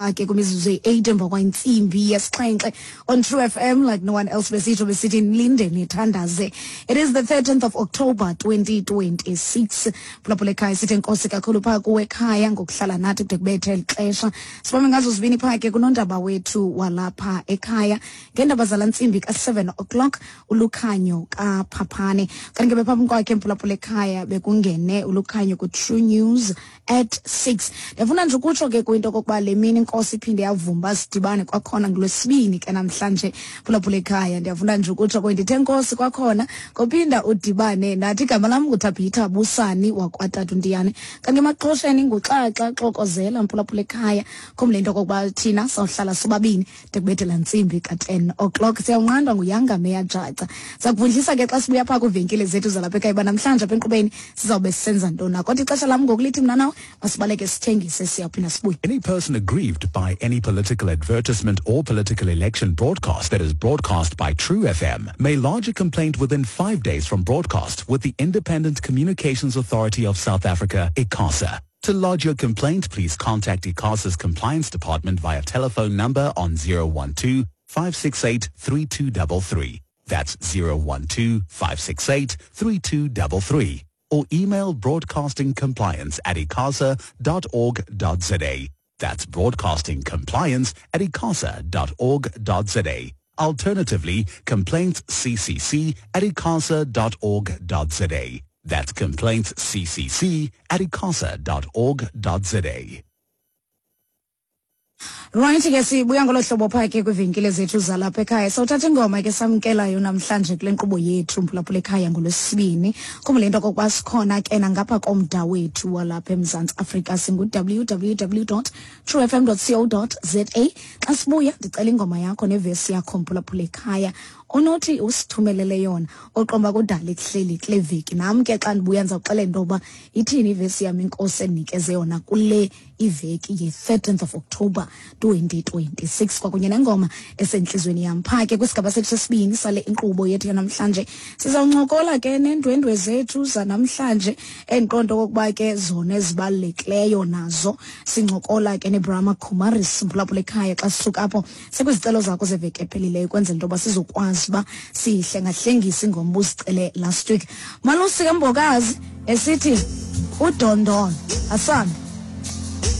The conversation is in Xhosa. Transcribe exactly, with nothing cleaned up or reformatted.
Ke kwimizuzu eyi-eight emva kwentsimbi yesixhenxe on True F M like no one else. Besitsho besithi nilinde nithandaze. It is the thirteenth of October twenty twenty-six. Phulaphula ekhaya, sithi enkosi kakhulu phaa kuwe ekhaya ngokuhlala nathi kude kubethe eli xesha. Sibambe ngazo zibini phaa ke kunondaba wethu walapha ekhaya ngeendaba zala ntsimbi ka-seven o'clock, uLukhanyo kaPhaphane. Kanti ke bephambi kwakhe, mphulaphula ekhaya, bekungene uLukhanyo ku-True News at six. Ndiyafuna nje ukutsho ke kwinto okokuba le mini inkosi iphinde yavuma sidibane kwakhona ngolwesibini ke namhlanje. Phulaphula ekhaya, ndiyafuna nje ukutsho kwe ndithe nkosi kwakhona kophinda udibane nathi. Igama lam nguThabitha Busani wakwaTatu Ntiyane, kanti emaxhosheni nguXaxa Xokozela. Mphulaphula ekhaya, khumbule into okokuba thina sawuhlala sobabini de kubethe laa ntsimbi ka-ten o'clock. Siyawunqandwa nguYanga Meya Jaca. Sakuvundlisa ke xa sibuya phaa kwiivenkile zethu zalapha ekhaya uba namhlanje apha enkqubeni sizawube sisenza ntoni. Kodwa ixesha lam ngoku lithi mna nawe masibaleke sithengise, siyawuphinda sibuye. Any person aggrieved by any political advertisement or political election broadcast that is broadcast by True F M may lodge a complaint within five days from broadcast with the Independent Communications Authority of South Africa, ICASA. To lodge your complaint, please contact ICASA's compliance department via telephone number on zero one two five six eight three two three three. That's zero one two five six eight three two three three. Or email broadcasting compliance at icasa dot org dot za. That's broadcasting compliance at icasa dot org dot za. Alternatively, complaints C C C at icasa dot org dot za. That's complaints C C C at icasa dot org dot za. Right ke, sibuya ngolo hlobo phaa ke kwiivenkile zethu zalapha ekhaya. Sawuthatha ingoma ke samkelayo namhlanje kule nkqubo yethu, mphulaphula ekhaya, ngolwesibini. Khumbule into okokuba sikhona ke nangapha komda wethu walapha eMzantsi Afrika, singu W W W dot true F M dot co dot za. Xa sibuya ndicela ingoma yakho nevesi yakho, mphulaphula ekhaya, onothi usithumelele yona oqomba kudala ekuhleli kule veki. Nam ke xa ndibuya ndizawuxelela into yoba ithini ivesi yam inkosi endinikeze yona kule iveki ye-thirteenth of October twenty twenty-six, kwakunye nengoma esentliziyweni yam. Phaa ke kwisigaba sethu sesibini sale inkqubo yethu yanamhlanje sizawuncokola ke neendwendwe zethu zanamhlanje, endiqonda okokuba ke zona ezibalulekileyo nazo. Sincokola ke neBrahma Kumaris, mphulaphula ekhaya. Xa sisuka apho sekwizicelo zakho zeveki ephelileyo, ukwenzela into yoba sizokwazi uba sihlengahlengise ingoma ubuzicele last week. Malusi kaMbokazi esithi udondolo asambe.